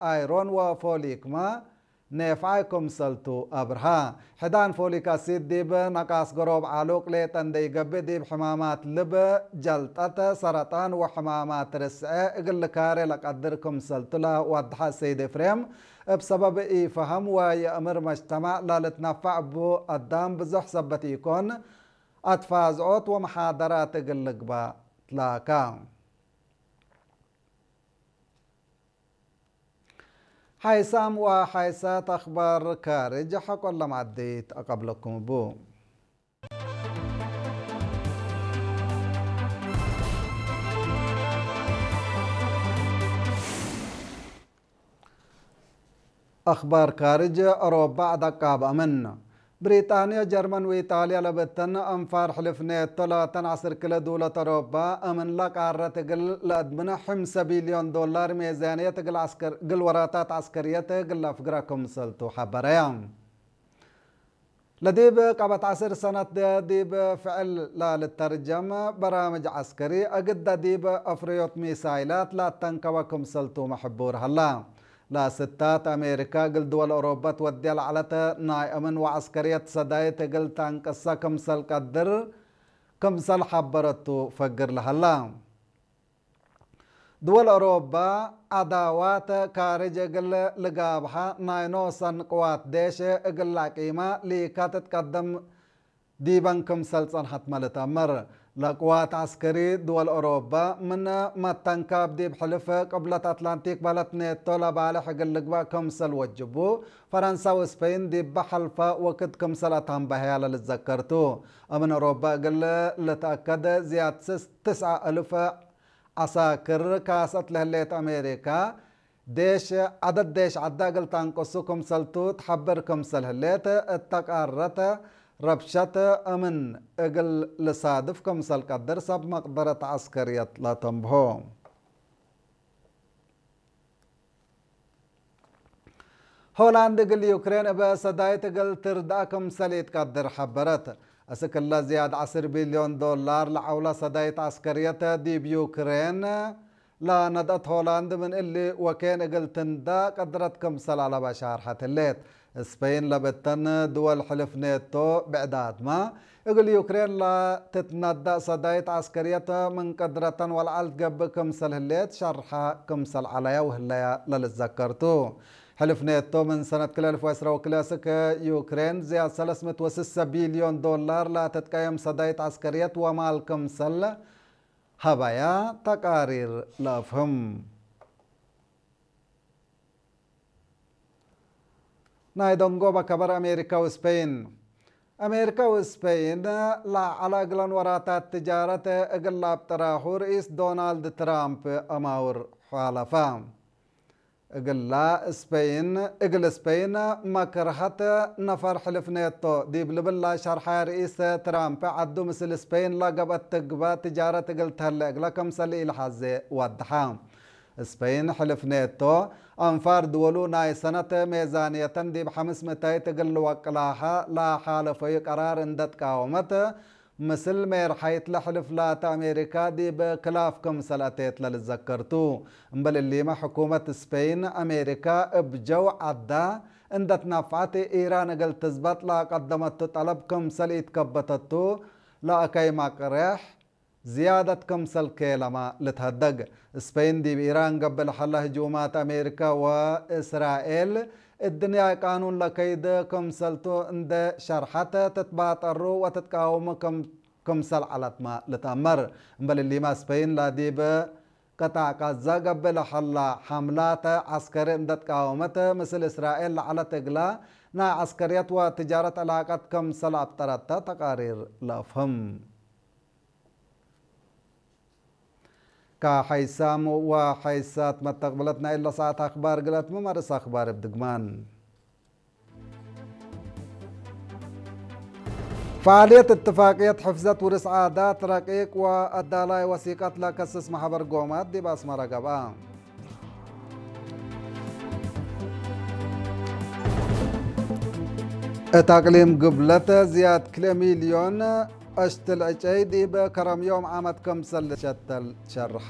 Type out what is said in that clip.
ኣይሮን ወፎሊክማ ኔፍዓይ ክምሰልቱ ኣብርሃ። ሕዳን ፎሊክ ኣሲድ ዲብ ነቃስ ገሮብ ዓሉቅ ሌጠ እንደይገብእ ዲብ ሕማማት ልብ፣ ጀልጠት፣ ሰረጣን ወሕማማት ርስዐ እግል ካሬ ለቀድር ክምሰልቱ ለዋድሐ ሰይድ ኤፍሬም፣ እብ ሰበብ ኢፈሀም ወየእምር መጅተማዕ ለልትነፈዕ እቡ አዳም ብዙሕ ሰበት ኢኮን፣ አትፋዝዖት ወመሓደራት እግል ልግባእ ትላካ። ሓይሳም ወሓይሳት ኣኽባር ካርጅ ሐቆ ለማዕዲት ኣቀብለኩም እቡ። ኣኽባር ካርጅ ሮባዕ ደቃብ ኣምን። ብሪጣንዮ፣ ጀርመን ወኢጣልያ ለበተን አንፋር ሕልፍ ኔቶ ላተን ዐስር ክለ ድውለት አውሮባ እምንላ ቃረት እግል ለአድምነ ሕምሰ ቢልዮን ዶላር ሜዛንየት እግል ዐስከር-፣ እግል ወራታት ዐስከርየት እግል ለአፍግራ ክምሰልቱ ሐበረያ። ለዲብ ቀበት ዐስር ሰነት ዲብ ፍዕል ላልተርጀም በራምጅ ዐስከሪ እግደ ዲብ አፍርዮት ሚሳይላት ላተንከበ ክምሰልቱ መሕቡር ሀላ። ለስታት አሜሪካ እግል ድወል ኦሮባ ትወድያ ለዐለት ናይ አምን ወዐስከርየት ሰዳይት እግል ተንቅሰ ክምሰል ቀድር ክምሰል ሐበረቱ ፈግር ለሀላ። ድወል ኦሮባ ዐዳዋት ካርጅ እግል ልጋብሐ ናይ ኖሰን ቅዋት ዴሽ እግል ለአቂማ ሊካ ትትቀደም ዲበን ክምሰል ጸንሐትመ ልትአመር። ለቅዋት ዐስከሪ ድወል ኦሮባ ምን መተንካብ ዲብ ሕልፍ ቅብለት አትላንቲክ በህለት ኔቶ ለባልሕ እግል ልግባእ ክምሰል ወጅቡ፣ ፈረንሳ ወስፐይን ዲበ ሐልፈ ወክድ ክምሰል አተንበሀያ ለልዘከር ቱ። እምን ኦሮባ እግል ልትአከድ ዝያድ ስስ-፣ ትስዐ እልፍ ዐሳክር ካሰት ለህሌት አሜሪካ፣ ዴሽ ዐደድ ዴሽ ዐዳ እግል ተንቅሱ ክምሰልቱ ትሐብር ክምሰል ህሌት፣ እተ ቃረት ረብሸት እምን እግል ልሳድፍ ክምሰል ቀድር ሰብ መቅደረት ዐስከርየት ለተንብሆ። ሆላንድ እግል ዩክሬን እበ ሰዳይት እግል ትርድአ ክምሰል ኢትቀድር ሐበረት። እስክለ ዝያድ ዐስር ቢልዮን ዶላር ለዐውላ ሰዳይት ዐስከርየት ዲብ ዩክሬን ለነድአት ሆላንድ ምን እሊ ወኬን እግል ትንዳ ቀድረት ክምሰል አለበ ሻርሐት ህሌት። ስፐይን ለብተን ድወል ሕልፍ ኔቶ ብዕዳትማ እግል ዩክሬን ለትትነዳእ ሰዳይት ዐስከርየት ምን ቀድረተን ወለዐል ትገብእ ክምሰል ህሌት ሸርሐ ክምሰል ዐለያ ወህለያ ለልዘከር ቱ። ሕልፍ ኔቶ ምን ሰነት ክልኤ አልፍ ወዕስራ ወክልኤ እስክ ዩክሬን ዝያድ ሰለስ ምእት ወስሰ ቢልዮን ዶላር ለትትቀየም ሰዳይት ዐስከርየት ወማል ክምሰል ሀባያ ተቃሪር ለአፍህም። ናይ ደንጎበ ከበር አሜሪካ ወስፐይን። አሜሪካ ወስፐይን ለዐለ እግለን ወራታት ትጃረት እግል ለአብጥራሁ ርኢስ ዶናልድ ትራምፕ አማውር ሐለፋ። እግላ ስፐይን፣ እግል ስፐይን መክርሀት ነፈር ሕልፍ ኔቶ ዲብ ልብላ ሸርሐ ርኢስ ትራምፕ ዐዱ ምስል ስፐይን ለገብአት ትግበእ ትጃረት እግል ተህለ እግለ ክምሰል ኢልሐዜ ወድሐ። ስፐይን ሕልፍ ኔቶ አንፋር ድወሉ ናይ ሰነት ሜዛንየተን ዲብ ሐምስ ምእታይት እግል ልወቅላሀ ለሓለፈዩ ቀራር እንደ ትቃወመት፣ ምስል ሜርሓይት ለሕልፍ ላተ አሜሪካ ዲብ ክላፍ ክምሰል አቴት ለልዘከር ቱ። እምበል እሊመ ሕኩመት ስፔይን አሜሪካ እብ ጀው ዐዳ እንደ ትናፍዐት ኢራን እግል ትዝበጥ ለቀደመቱ ጠለብ ክምሰል ኢትከበተቱ ለአከይ መቅሬሕ ዝያደት ክምሰል ኬለመ ልትሀደግ። ስፔይን ዲብ ኢራን ገብእ ለሀለ ህጁማት አሜሪካ ወእስራኤል እድንያይ ቃኑን ለከይድ ክምሰልቱ እንዴ ሸርሐት ትትባጠሩ ወትትቃወሙ ክም-፣ ክምሰል ዐለትመ ልትአመር። እምበል እሊመ ስፔይን ለዲብ ቅጣዕ ቃዛ ገብእ ለሀላ ሐምላት ዐስከሪ እንዴ ትቃወመት ምስል እስራኤል ለዐለት እግላ ናይ ዐስከርየት ወትጃረት ዕላቀት ክምሰል አብጠረተ ተቃሪር ለአፍህም። ከሐይሳም ወሐይሳት መተቅብለትና ኢለ ሰዓት አኽባር ግለት መመርስ አኽባር እብ ድግማን። ፈዓልየት እትፋቅየት ሕፍዘት ውርስ ዓዳት ረቂቅ ወአዳላይ ወሲቀት ለከስስ ማሕበር ጎማት ዲብ አስመረ ገብአ። እት አቅሊም ግብለት ዝያድ ክልኤ ሚልዮን አሽትል ዕጨይ ዲብ ከረም ዮም ዓመት ክምሰል ልሸተል ሸርሐ።